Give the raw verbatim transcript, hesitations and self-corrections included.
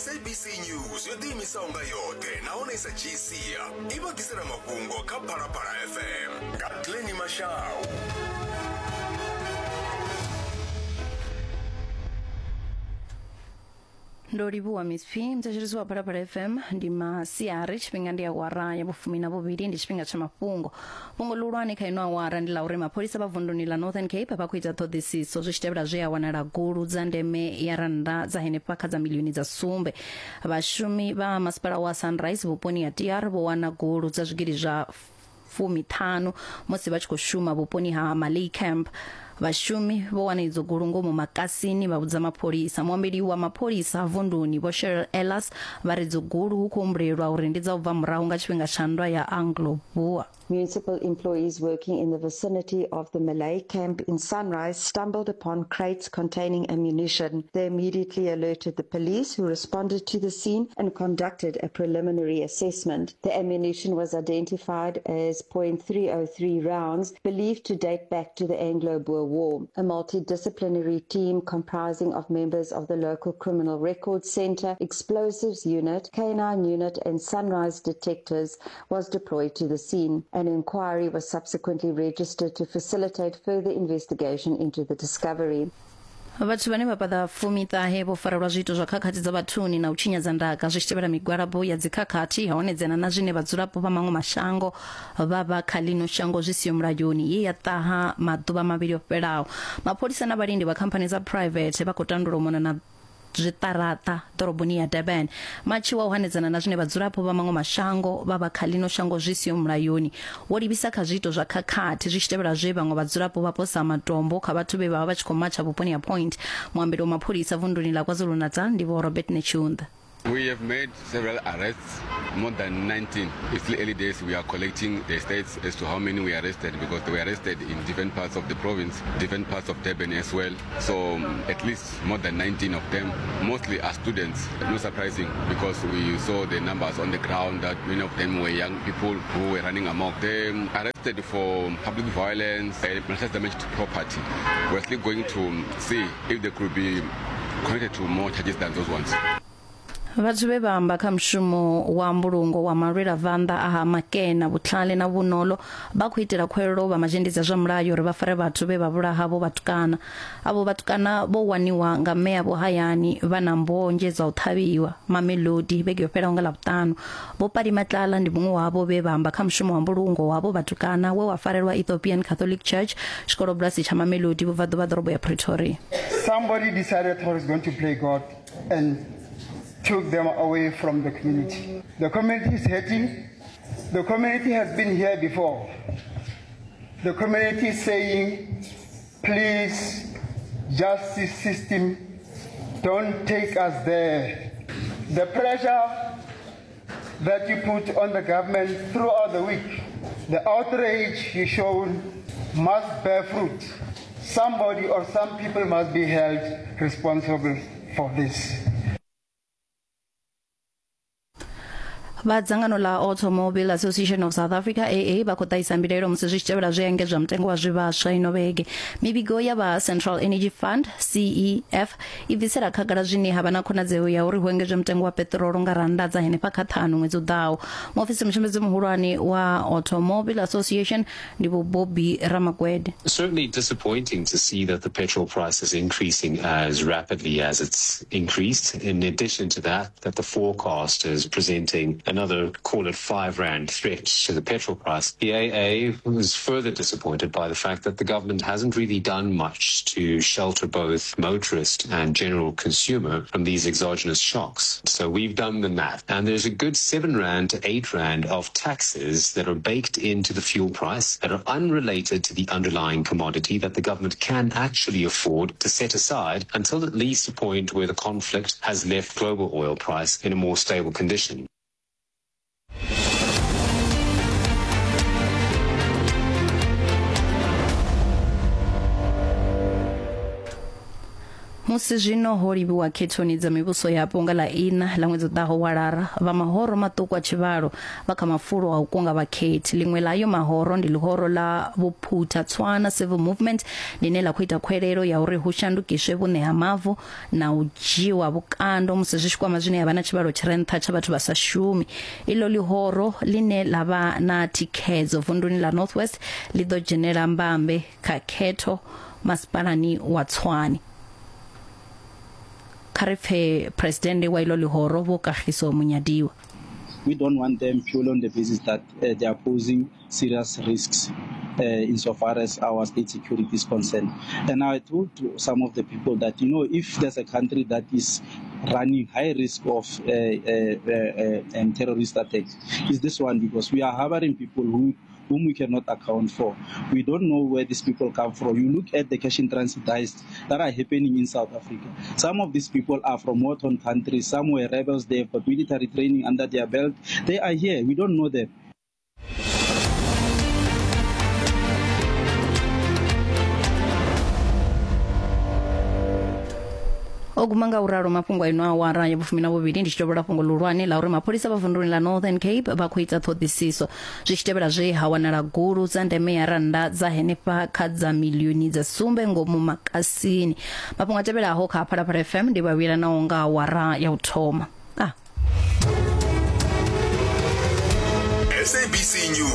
S A B C News yo ḓiimisaho nga yoṱhe nahone sa dzhii sia i vha ḓisela mafhungo kha Phalaphala F M nga Glennie Mashau. Ndo livhuwa Miss P. Mthetshelesi wa Phalaphala F M ndi masiari, tshifhinga ndi awara ya vhufumi na vhuvhili, ndi tshifhinga tsha mafhungo. Fhungo ḽihulwane kha ino awara ndi ḽa uri mapholisa vha vunduni ḽa Northern Cape vha khou ita ṱhoḓisiso zwi tshi tevhela zwe ya wanala gulu dza ndeme ya rannda dza henefha kha dza milioni dza sumbe. Vhashumi vha masipala wa Sunrise vhuponi ha T R vho wana gulu dza zwigidi zwa fumiṱhanu musi vha tshi khou shuma vhuponi ha Malay Camp. Vhashumi vho wana idzo gulu ngomu makasini vha vhudza mapholisa. Muambeli wa mapholisa vunduni Vho Cheryl Ellis vha ri dzo gulu hu khou humbulelwa uri ndi dza u bva murahu nga tshifhinga tsha nndwa ya Anglo-Boer. Municipal employees working in the vicinity of the Malay camp in Sunrise stumbled upon crates containing ammunition. They immediately alerted the police, who responded to the scene and conducted a preliminary assessment. The ammunition was identified as point three oh three rounds, believed to date back to the Anglo-Boer War. A multidisciplinary team comprising of members of the local Criminal Records Centre, Explosives Unit, Canine Unit and Sunrise Detectives was deployed to the scene. An inquiry was subsequently registered to facilitate further investigation into the discovery. Vhathu vhane vha paḓa fumiṱahe vho farelwa zwiito zwa khakhathi dza vhathuni na u tshinyadza ndaka zwi tshi tevhela migwalabo ya dzikhakhathi honedzana na zwine vhadzulapo vha maṅwe mashango vha vha kha ḽino shango zwi siho mulayoni ye ya ṱaha maḓuvha mavhili o fhelaho. Mapholisa na vhalindi vha khamphani dza private vha khou tandula u mona na zwiṱaraṱa ḓoroboni ya Durban. Matshi wa u hanedzana na zwine vhadzulapo vha maṅwe mashango vha vha kha ḽino shango zwi siho mulayoni wo livhisa kha zwiito zwa khakhathi zwi tshi tevhela zwe vhaṅwe vhadzulapo vha posa matombo kha vhathu vhe vha vha vha tshi khou matsha vhuponi ha Point. Muambeli wa mapholisa vunduni ḽa KwaZulu-Natal ndi Vho Robert Netshiunda. We have made several arrests, more than nineteen. It's still early days. We are collecting the stats as to how many we arrested, because they were arrested in different parts of the province, different parts of Durban as well. So um, at least more than nineteen of them, mostly are students. No surprising, because we saw the numbers on the ground that many of them were young people who were running amok. They arrested for public violence and malicious damage to property. We're still going to see if they could be connected to more charges than those ones. Vhathu vhe vha amba kha mushumo wa mbulungo wa malwela vanḓa a ha Makena Vhutlhale na Vhunolo vha khou itela khuwelelo vha mazhendedzi a zwa mulayo uri vha fare vhathu vhe vha vhulaha vho vhatukana. Avho vhatukana vho waniwa nga mme avho hayani vha na mbonzhe dza u ṱhavhiwa Mamelodi vhege yo fhelaho nga Ḽavhuṱanu. Vho Pali Matlala ndi muṅwe wavho vhe vha amba kha mushumo wa mbulungo wavho vhatukana we wa farelwa Ethiopian Catholic Church tshikolobulasi tsha Mamelodi vhubvaḓuvha ḓorobo ya Pretoria. Somebody decided he was going to play God and took them away from the community. The community is hurting. The community has been here before. The community is saying, please, justice system, don't take us there. The pressure that you put on the government throughout the week, the outrage you shown must bear fruit. Somebody or some people must be held responsible for this. Vha dzangano ḽa Automobile Association of South Africa A A vha khou ṱahisa mbilaelo musi zwi tshi tevhela zwe engedzwa mutengo wa zwivhaswa ino vhege. Mivhigo ya vha Central Energy Fund C E F i bvisela khagala zwine ha vha na khonadzeo ya uri hu engedzwe mutengo wa peṱirolo nga rannda dza henefha kha ṱhanu ṅwedzi u ḓaho. Muofisi mushumbedzi muhulwane wa Automobile Association ndi Vho Bobby Ramagwede. Certainly disappointing to see that the petrol price is increasing as rapidly as it's increased. In addition to that, that the forecast is presenting another, call it five rand threat to the petrol price. The A A was further disappointed by the fact that the government hasn't really done much to shelter both motorist and general consumer from these exogenous shocks. So we've done the math, and there's a good seven rand to eight rand of taxes that are baked into the fuel price that are unrelated to the underlying commodity that the government can actually afford to set aside until at least a point where the conflict has left global oil price in a more stable condition. Musi zwino ho livhiwa khethoni dza mivhuso yapo nga ḽa ina ḽa ṅwedzi u ḓaho wa Lara, vha mahoro maṱuku a tshivhalo vha kha mafulo a u kunga vhakhethi. Ḽiṅwe ḽa ayo mahoro ndi ḽihoro ḽa Vhuphutha Tswana Civil Movement ḽine ḽa khou ita khwelelo ya uri hu shandukiswe vhuṋe ha mavu na u dzhiwa vhukando musi zwi tshi kwama zwine ya vha na tshivhalo tshi re nṱha tsha vhathu vha sa shumi. Iḽo ḽihoro ḽine ḽa vha na thikhedzo vunduni ḽa North West ḽi ḓo dzhenela mbambe kha khetho masipalani wa Tshwane. Kha ri pfe presidennde wa ilo ḽihoro Vho Kagiso Munyadiwa. We don't want them purely on the basis that uh, they are posing serious risks uh, insofar as our state security is concerned. And I told to some of the people that, you know, if there's a country that is running high risk of uh, uh, uh, um, terrorist attacks, is this one, because we are harboring people who whom we cannot account for. We don't know where these people come from. You look at the cash in transit heists that are happening in South Africa. Some of these people are from war-torn countries. Some were rebels. They have got military training under their belt. They are here. We don't know them. O guma nga uralo mafhungo ino awara ya vhufumi na vhuvhili ndi tshi tovhola fhungo ḽihulwane ḽa uri mapholisa vha vunduni ḽa Northern Cape vha khou ita ṱhoḓisiso zwi tshi tevhela zwe ha wanala gulu dza ndeme ya rannda dza henefha kha dza milioni dza sumbe ngomu makasini. Mafhungo a tevhelaho kha Phalaphala F M ndi vhavhila naho nga awara ya u thoma. Ah. S A B C News.